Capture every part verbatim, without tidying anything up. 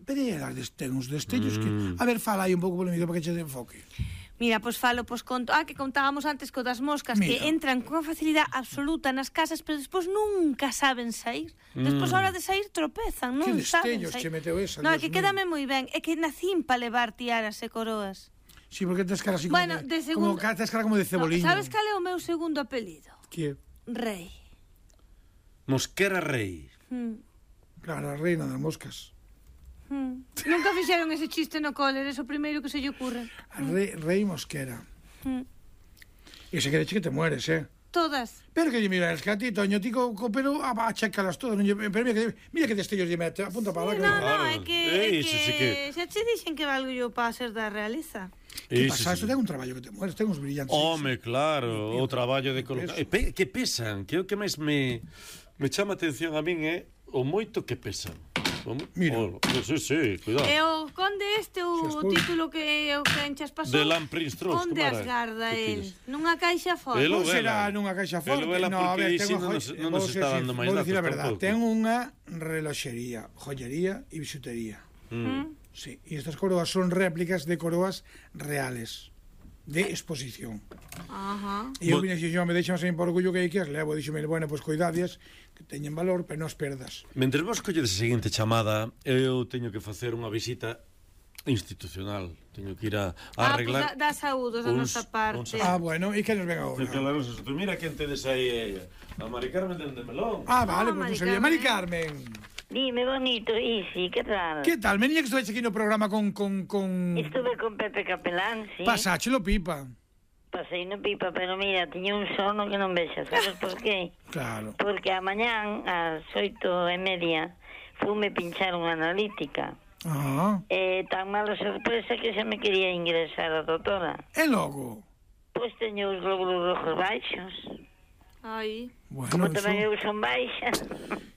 pero elas ten uns destellos que... A ver, fala aí un pouco polémico para que che de enfoque. Mira, pois falo, pois conto, ah, que contábamos antes co das moscas, Mira. que entran con facilidade absoluta nas casas, pero despois nunca saben sair. Despois, a hora de sair, tropezan, non saben sair. Que destellos che meteu esa, No, é que quédame moi ben, é que nacín para levar tiaras e coroas. Sí, porque tes cara así como, bueno, de, de segundo... como, tes cara como de ceboliño. No, sabes cal é o meu segundo apelido? Que? Rei. Mosquera Rei. Hmm. Claro, a reina das moscas. Hmm. Nunca fixeron ese chiste no cole, é o primeiro que se lle ocurre. A rei, rei Mosquera. Hmm. E se queres que te mueres, eh? Todas. Pero que lle mira, es que a ti, Toño, ti co, co pero a, a checalas todas, non lle, pero mira que, mira que destellos lle mete, apunta para sí, lá. No, no, é que, é que, sí que... xa che dixen que valgo yo para ser da realeza. Que pasa? Iso ten un traballo que te mueres, ten uns brillantes. Home, claro, o traballo de colocar... E pe, que pesan, que é o que máis me, me chama a atención a min é o moito que pesan. Mira. Oh, sí, sí, cuidado. E o conde este, o título que o que enchas pasou. De Lamprin Strauss, onde as garda el? Nunha caixa forte. Non será nunha caixa forte. No, a ver, ten unha non nos está dando máis datos tampouco. Ten unha reloxería, joyería e bisutería. Mm. Sí, e estas coroas son réplicas de coroas reales de exposición. Ajá. E eu vine dixo, me deixan sen por orgullo que hai que as levo, dixome, bueno, pois coidadias que teñen valor, pero non as perdas. Mentre vos colledes a seguinte chamada, eu teño que facer unha visita institucional. Teño que ir a, a arreglar... Ah, pues da, da saúdos da nosa parte. Ah, bueno, e que nos ven agora? Mira quen tedes aí, a Mari Carmen de Melón. Ah, vale, oh, pois pues, non sabía. Mari Carmen. Dime, bonito, Isi, que tal? Que tal? Menía que estuve aquí no programa con... con, con... Estuve con Pepe Capelán, sí. Pasáchelo pipa. Pasei no pipa, pero mira, tiña un sono que non vexas, sabes por qué? Claro. Porque a mañán, ás oito e media, fume pinchar unha analítica. Ah. E tan mala sorpresa que xa me quería ingresar a doutora. E logo? Pois teño os glóbulos rojos baixos. Ai. Bueno, como tamén eso... eu son baixa.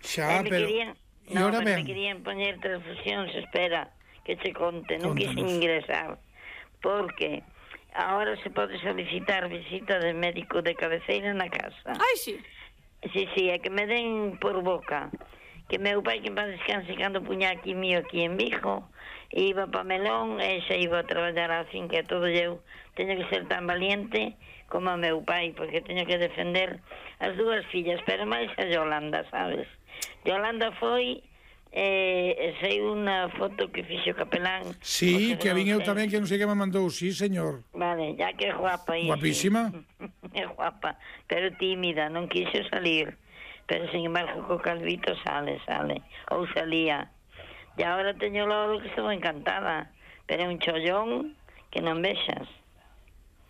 Xa, pero... Querían... E no, ahora pero ben. me querían poñer transfusións, espera, que te conte, non quise Contanos. ingresar. Porque... Ahora se pode solicitar visita de médico de cabeceira na casa. Ai, sí. Sí, sí, é que me den por boca. Que meu pai, que en paz descanse, cando puña aquí mío aquí en Vigo, iba pa Melón e xa iba a traballar á finca e todo, eu teño que ser tan valiente como a meu pai, porque teño que defender as dúas fillas, pero máis a Yolanda, sabes? Yolanda foi... Eh, sei unha foto que fixo Capelán. Sí, que a vin eu tamén, que non sei que me mandou. Sí, señor. Vale, ya que é guapa. Guapísima. É guapa, pero tímida, non quixo salir. Pero, sin embargo, co calvito sale, sale. Ou salía. E agora teño logo que estou encantada. Pero é un chollón que non vexas.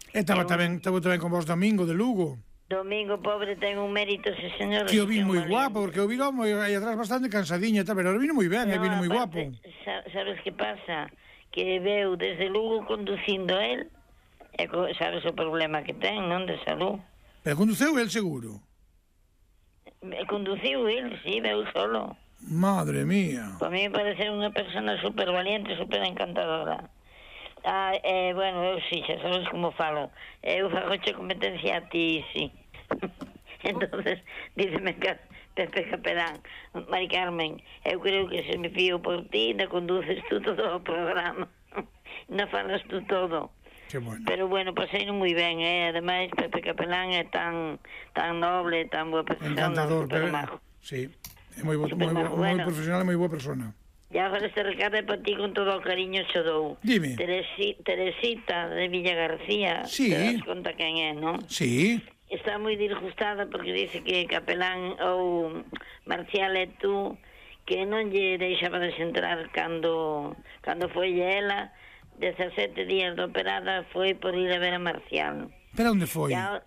E estaba tamén, estaba tamén con vos Domingo de Lugo. Domingo, pobre, ten un mérito, ese señor. Que o vi moi guapo, porque o vi aí atrás bastante cansadinha, pero o vino moi ben, no, e vino moi guapo. Sabes que pasa? Que veu desde Lugo conducindo el, e sabes o problema que ten, non, de salud. Pero conduceu el seguro? Conduciu el, sí, veu solo. Madre mía. Para mí me parece unha persona super valiente, super encantadora. Ah, eh, bueno, eu sí, xa sabes como falo. Eu fagoche competencia a ti, sí. Entonces, díceme que Pepe Capelán, Mari Carmen, eu creo que se me fío por ti, na conduces tú todo o programa. Na falas tú todo. Que bueno. Pero bueno, paseino moi ben, eh? Ademais, Pepe Capelán é tan tan noble, tan boa persona. Encantador, pero... Sí, é moi, bo, moi, bo, moi bueno. Profesional e moi boa persona. E agora este recado é para ti con todo o cariño xo dou. Dime. Teresi, Teresita de Villa García. Sí. Te das conta quen é, non? Sí. Está moi disgustada porque dice que Capelán ou Marcial e tú que non lle deixaba desentrar cando cando foi ela dezasete días de operada foi por ir a ver a Marcial. Pero onde foi? Ya,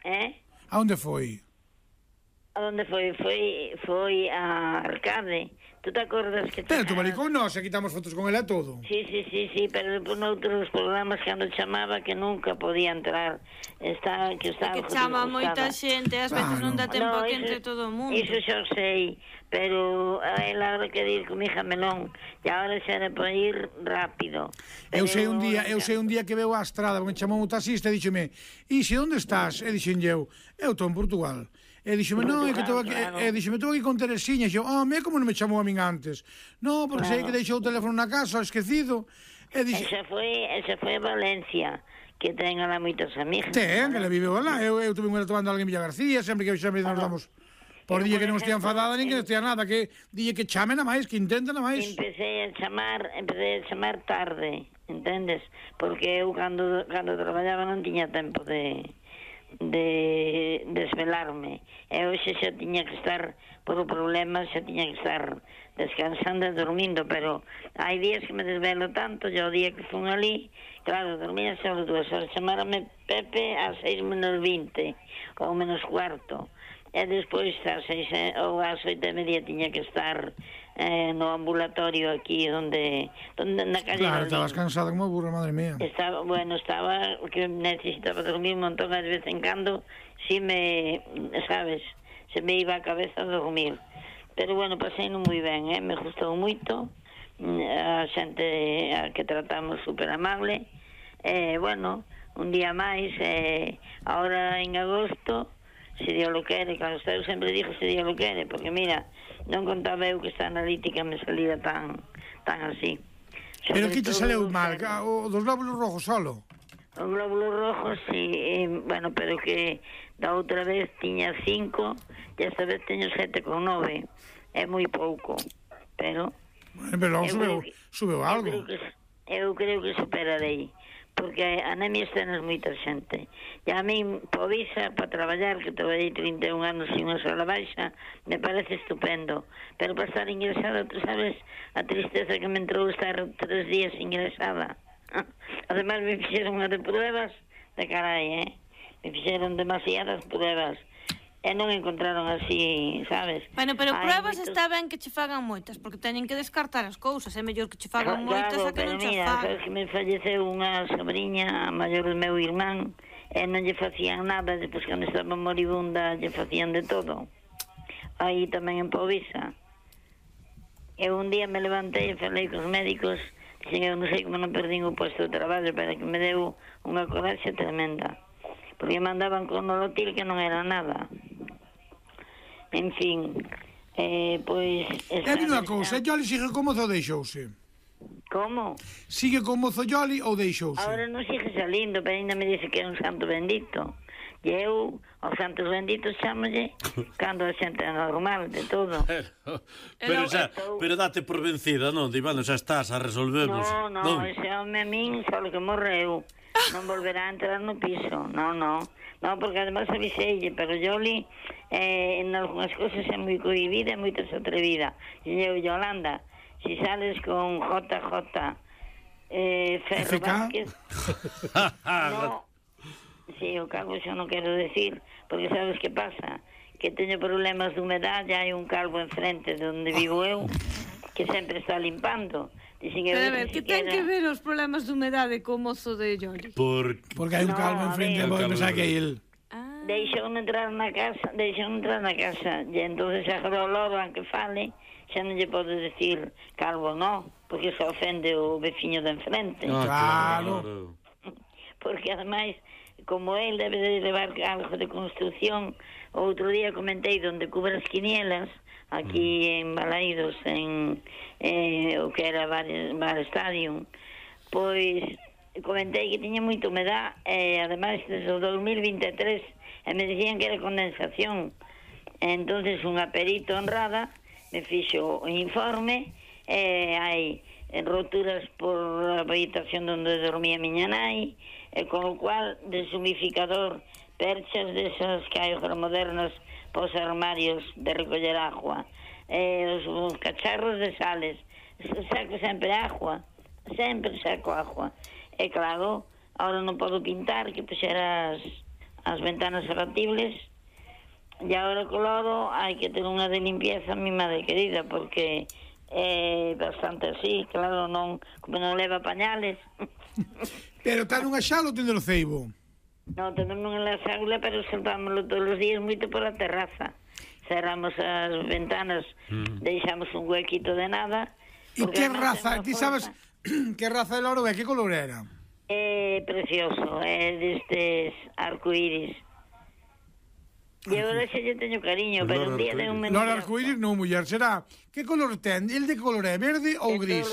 eh? A onde foi? A onde foi? Foi foi a Arcade. ¿Tú te acordas que... Pero tu maricón non, se quitamos fotos con ela todo. Sí, sí, sí, sí, pero por noutros programas cando chamaba que nunca podía entrar. Está, que estaba... Que chama moita xente, ás veces non dá tempo no, que entre todo o mundo. Iso xa sei, pero a ela hora que ir con mi hija Melón, e agora xa era para ir rápido. Pero eu sei un día, eu sei un día que veu a estrada, me chamou un taxista e díxeme, Isi, onde estás? E dixen eu, eu estou en Portugal. E dixome, non, é que estou aquí, e dixome, estou aquí con Teresiña, e xo, ah, me como non me chamou a min antes? Non, porque sei que deixou o teléfono na casa, esquecido. E dixe, esa foi, esa foi a Valencia, que ten alá moitas amigas. ten, que la viveu alá, eu, eu tuve unha tomando alguén Villa García, sempre que sempre nos damos por día que non estea enfadada, nin que non estea nada, que dille que chame na máis, que intenta na máis. Empecé a chamar, empecé a chamar tarde, entendes? Porque eu cando, cando traballaba non tiña tempo de... de desvelarme, e hoxe xa tiña que estar por o problema, xa tiña que estar descansando e dormindo, pero hai días que me desvelo tanto, e o día que fun ali, claro, dormía só dúas horas, chamárame Pepe a seis menos vinte ou menos cuarto, e despois a seis ou ás oito e media tiña que estar eh, no ambulatorio aquí onde, onde na calle. Claro, estabas cansada como burra, madre mía. Estaba, bueno, estaba que necesitaba dormir un montón, de vez en cando si me, sabes, se me iba a cabeza a dormir, pero bueno, pasei non moi ben, eh? Me gustou moito, a xente a que tratamos super amable, e eh, bueno, un día máis, eh, ahora en agosto, se Dios lo quere, claro, eu sempre digo se Dios lo quere, porque mira, non contaba eu que esta analítica me salía tan tan así. Pero que te saleu mal? O dos glóbulos rojos solo? Os glóbulos rojos, sí, eh, bueno, pero que da outra vez tiña cinco e esta vez teño sete con nove. É moi pouco, pero... Bueno, pero logo subeu, subeu algo. Eu creo que, eu creo que superarei, porque anemia tenes moita xente. E a min, povisa, para traballar, que traballei trinta e un anos sin unha sola baixa, me parece estupendo. Pero para estar ingresada, tú sabes a tristeza que me entrou estar tres días ingresada. Ademais, me fixeron unha de pruebas de carai, eh? Me fixeron demasiadas pruebas. E non encontraron así, sabes? Bueno, pero pruebas moitos... está ben que che fagan moitas, porque teñen que descartar as cousas, é mellor que che fagan claro, moitas a que non che mira, fagan. Sabes que me falleceu unha sobrinha, a maior do meu irmán, e non lle facían nada, depois cando estaba moribunda lle facían de todo. Aí tamén en Povisa. E un día me levantei e falei cos médicos, dixen, eu non sei como non perdín o posto de traballo, pero que me deu unha coraxe tremenda. Porque me mandaban con nolotil que non era nada. En fin, eh, pois... E dime unha cousa, Yoli sigue como mozo ou deixouse? Como? Sigue como mozo Yoli ou deixouse? Agora non sigue salindo, pero ainda me dice que é un santo bendito. E eu, aos santos benditos, chámolle cando a xente é normal, de todo. Pero, pero, xa, pero date por vencida, non? Di, bueno, xa estás, a resolvemos. No, no, non? Ese home a min só que morreu. Non volverá a entrar no piso. No, no. No, porque además aviseille, pero Yoli eh, en algunhas cosas é moi cohibida e moito atrevida. E eu, Yolanda, si sales con J J eh, Ferro Vázquez... no, si, o calvo xa non quero decir, porque sabes que pasa? Que teño problemas de humedade, hai un calvo enfrente de onde vivo eu, que sempre está limpando. Pero a ver, que ten que ver os problemas de humedade co mozo de Yoli? Por... Porque hai un calvo no, enfrente, vos pensar que é el. Ah. Deixou entrar na casa, deixou entrar na casa, e entonces agora o loro, aunque fale, xa non lle pode decir calvo, non, porque se ofende o veciño de enfrente. Ah, claro. Porque ademais, como el debe de levar algo de construcción, outro día comentei donde cubre as quinielas, aquí en Balaídos, en eh, o que era Bar, Bar Stadium, pois comentei que tiña moita humedad e ademais desde o dos mil vinte e tres e me dicían que era condensación. Entonces unha perito honrada me fixo o informe e hai roturas por a habitación onde dormía miña nai, e con o cual deshumificador, perchas desas que hai agora modernas pos armarios de recoller agua, eh, os, os cacharros de sales, saco sempre agua, sempre saco agua. E claro, ahora non podo pintar, que puxera as, as ventanas abatibles, e agora co lodo hai que ter unha de limpieza, mi madre querida, porque é bastante así, claro, non, como non leva pañales. Pero está nunha xala ou tende no ceibo? Non, temos nunha xaula, pero soltámoslo todos os días moito pola terraza. Cerramos as ventanas, mm. deixamos un huequito de nada. E que raza, ti sabes que raza de loro é, que color era? É precioso, é destes arcoíris. E agora xa lle teño cariño, pero un día de un menino... Lord Arcoíris non, muller, será... Que color ten? El de color é verde ou gris?